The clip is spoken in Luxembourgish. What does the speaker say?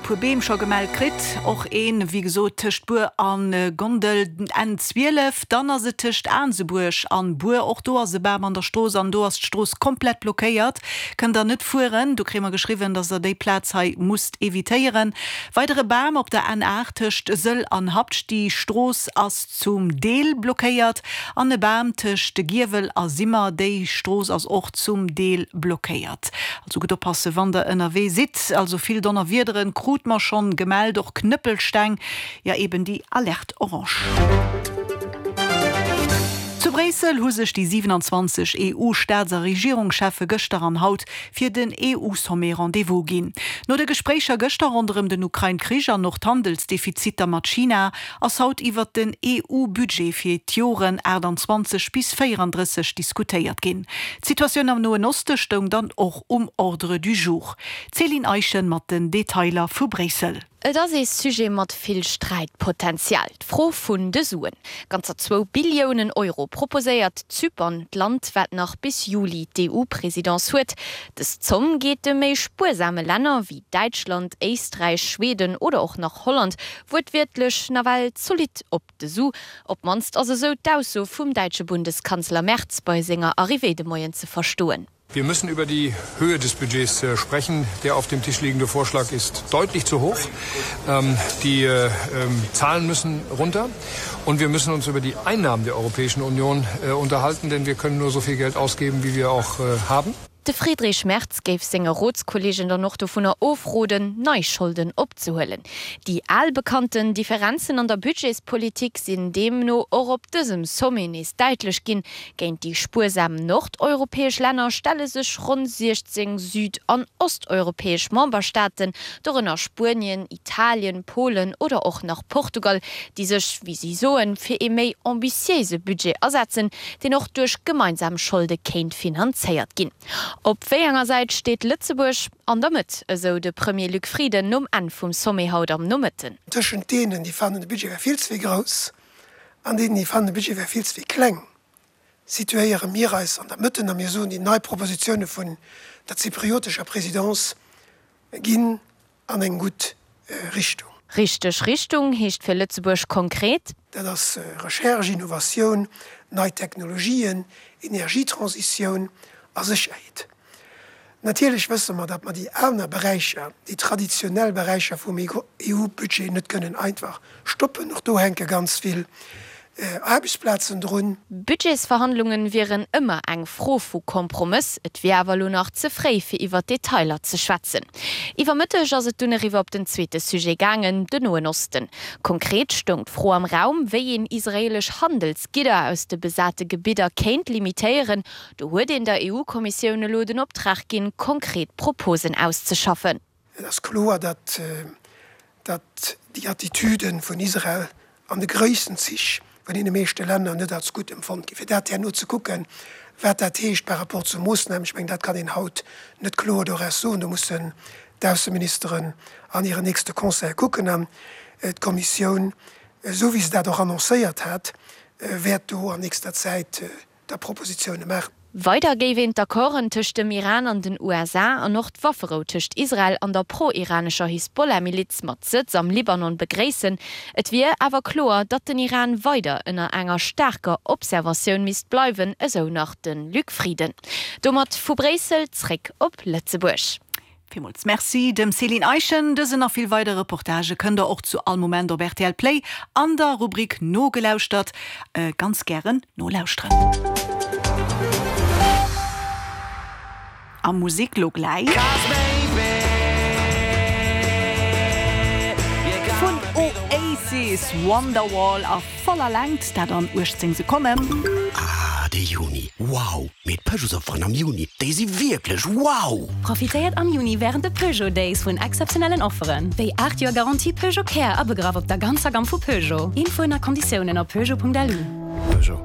puer Beem scho gemellt kritt. Och een, wéi gesot, tëscht Buer a Gondel, N 12. Dann ass et tëscht Aansebuerg an Buer, och do ass e Bam an der Strooss an do ass d'Strooss komplett blockéiert, kënnt der net fueren. Do kréie mer geschriwwen, dass der déi Plaz hei musst evitéieren. Weidere Bam op der N 8 tëscht Sëll an Habscht, déi Strooss ass zum Deel blockéiert. An e Bam tëscht Giewel a Simmer, déi Strooss ass och zum Deel blockéiert. Also gutt oppasse wann der ënnerwee sidd. Also vill Donnerwiederen krut mer schonn gemellt, och Knëppelsteng, jo eben déi Alerte orange. Zu Bréissel hu sech déi 27 EU-Staats a Regierungscheffe gëschter an haut fir den EU-Sommet Rendez-vous ginn. No de Gespréicher gëschter ronderëm den Ukrain-Krich an och d'Handelsdefiziter mat China, ass haut iwwert den EU-Budget fir d'Joren 28 bis 34 diskutéiert ginn. D'Situatioun am Noen Oste stoung dann och um Ordre du jour. D'Céline Eischen mat den Detailer vu Bréissel. Et ass ee Sujet mat vill Sträitpotenzial, d'Fro vun de Suen. Ganzer zwou Billiounen Euro proposéiert Zypern, d'Land wat nach bis Juli d'EU-Presidence huet. Dës Zomm geet de méi spuersame Länner wéi Däitschland, Éisträich, Schweden oder och nach Holland wuertwiertlech nawell zolidd op de Su. Op d'mannst ass esou d'Ausso vum däitsche Bundeskanzler Merz bei senger Arrivée de Moien ze verstoen. Wir müssen über die Höhe des Budgets äh, sprechen. Der auf dem Tisch liegende Vorschlag ist deutlich zu hoch. Ähm, die äh, ähm, Zahlen müssen runter und wir müssen uns über die Einnahmen der Europäischen Union äh, unterhalten, denn wir können nur so viel Geld ausgeben, wie wir auch haben. De Friedrich Merz géif senge Rotskolleegen dann och dovunner ofroden, nei Scholden opzehuelen. Déi al bekannten Differenzen an der Budgetspolitik sinn deemno och op dësem Sommet nees däitlech ginn. Géint déi spuersam nordeuropäesch Länner stelle sech ronn 16 süd an osteuropäesch Memberstaaten, dorënner Spuenien, Italien, Polen oder och nach Portugal, déi sech, wéi si soen, fir ee méi ambitiéise Budget asetzen, deen och duerch gemeinsam Scholde kéint finanzéiert ginn. Op wéi enger Säit steet Lëtzebuerg? An der Mëtt, esou de Premier Luc Frieden nom Enn vum Sommet haut am Nomëtten. Tëschent deenen, déi fannen, de Budget wär vill ze vill grouss, an deenen, déi fannen, de Budget wär vill ze vill kleng, situéiere mir eis an der Mëtten a mir soen, déi nei Propositioune vun der zypriotescher Présidence ginn an eng gutt Richtung. Richteg Richtung heescht fir Lëtzebuerg konkret. Dat ass Recherche, Innovatioun, nei Technologien, Energietransitioun a Sécherheet. Natierlech wësse mer, datt mer déi aner Beräicher, déi traditionell Beräicher vum EU-Budget net kënnen einfach stoppen. Och do hänke ganz vill Aarbechtsplazen drun. Budgetsverhandlungen wieren ëmmer eng Fro vu Kompromëss, et wier awer elo nach ze fréi fir iwwer d'Detailer ze schwätzen. Iwwer Mëtteg ass et dunn eriwwer op den zweete Sujet gaangen, den Noen Osten. Konkret stoung d'Fro am Raum, wéi een israeelesch Handelsgidder aus de besate Gebidder kéint limitéieren. Do huet een der EU-Kommissioun elo den Optrag ginn, konkret Proposen auszeschaffen. Et ass kloer, datt datt déi Attitüde vun Israel an de gréissten Zich vun deene meeschte Länner net als gutt empfonnt ginn. Fir dat herno ze kucken, wat dat heescht par rapport zu Moossnamen, ech mengen, dat kann een haut net kloer doraus soen. Do mussen d'Ausseministeren an hiren nächste Conseil kucken an d'Kommissioun, esou wéi se dat och annoncéiert hat, wäert do an nächster Zäit da Propositioune maachen. Weider géif een d'Accorden tëscht dem Iran an den USA an och d'Wafferou tëscht Israel an der pro-iranescher Hisbollah-Miliz mat Sëtz am Libanon begréissen. Et wier awer kloer, datt den Iran weider ënner enger staarker Observatioun misst bleiwen, esou nach de Luc Frieden. Domat vu Bréissel zréck op Lëtzebuerg. Villmools Merci dem Céline Eischen. Dësen a vill weider Reportagë kënnt der och zu all Moment op rtl Play an der Rubrik Nogelauschtert ganz gären nolauschteren. A Musik lo gläich vun Oasis, Wonderwall a voller Längt, dat an 18 Sekonnen. Ah, de Juni, wow! Mee d'Peugeotsofferen am Juni, déi si wierklech wow! Profitéiert am Juni wärend de Peugeot Days vun exzeptionellen Offeren, wéi 8 Joer Garantie Peugeot Care abegraff op der ganzer Gamm vu Peugeot. Infoen a Konditiounen op peugeot.lu. Peugeot.